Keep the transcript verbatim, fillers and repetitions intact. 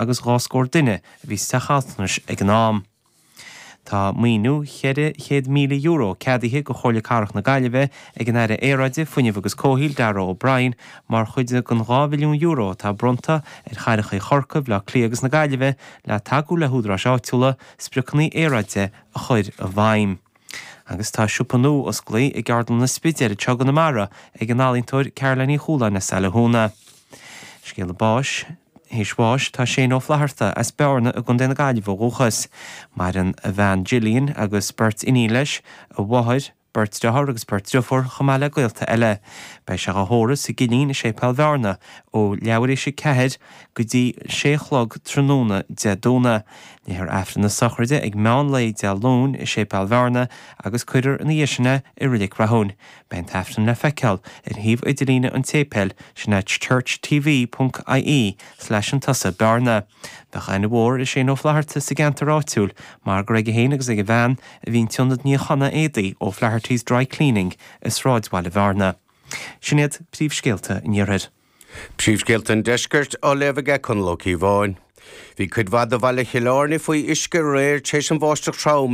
agus dhá scór duine a bhí sa teach altranais ag an am. Tá maoiniú ceithre chéad míle euro ceadaithe do Chomhairle Cathrach na Gaillimhe ag an Aire Aeráide, Fuinnimh agus Comhshaoil, Darragh O'Brien, mar chuid den dhá mhilliún euro atá bronnta ar chathracha Chorcaí, Bhaile Átha Cliath agus na Gaillimhe le tacú le húdaráis áitiúla spriocanna aeráide a chur i bhfeidhm. Agus tá siopa nua osclaithe i gCeardlann an Spidéil anseo i gConamara ag an ealaíontóir Caroline Ní Chualáin as Saile Thúna. Scéala báis. Théis bháis tá Shane Ó Flatharta as Bearna i gContae na Gaillimhe ó dhúchas. Maireann a bhean Gillian agus beirt iníon leis, a mháthair, beirt dearthár agus beirt driofúr, chomh maith le gaolta eile. Beidh sé á thórramh sa gCillín i Séipéal Bhearna ó leathuair théis a ceathair go dtí sé a chlog tráthnóna Dé Domhnaigh. Léifear Aifreann na sochraide ag meán lae Dé Luain i Séipéal Bhearna agus cuirfear ina dhiaidh sin é i Reilig Rathúin. Beidh an tAifreann le feiceáil ar shuíomh idirlíne an tséipéil, sin é churchtv ponc ie slash an tusa Bearna. Bheadh aithne mhór ar Shane Ó Flatharta sa gceantar áitiúil mar gur aige féin agus ag a bhean a bhí an t-ionad níochána éadaí O'Flaherty's Dry Cleaning i sráidbhaile Bhearna. Sin iad príomhscéalta an iarthair. Príomhscéalta an deiscirt á léamh aige Conall Ó Cíobháin. Bhí cuid mhaith de bhaile Chill Airne faoi uisce aréir tar éis an bháisteach trom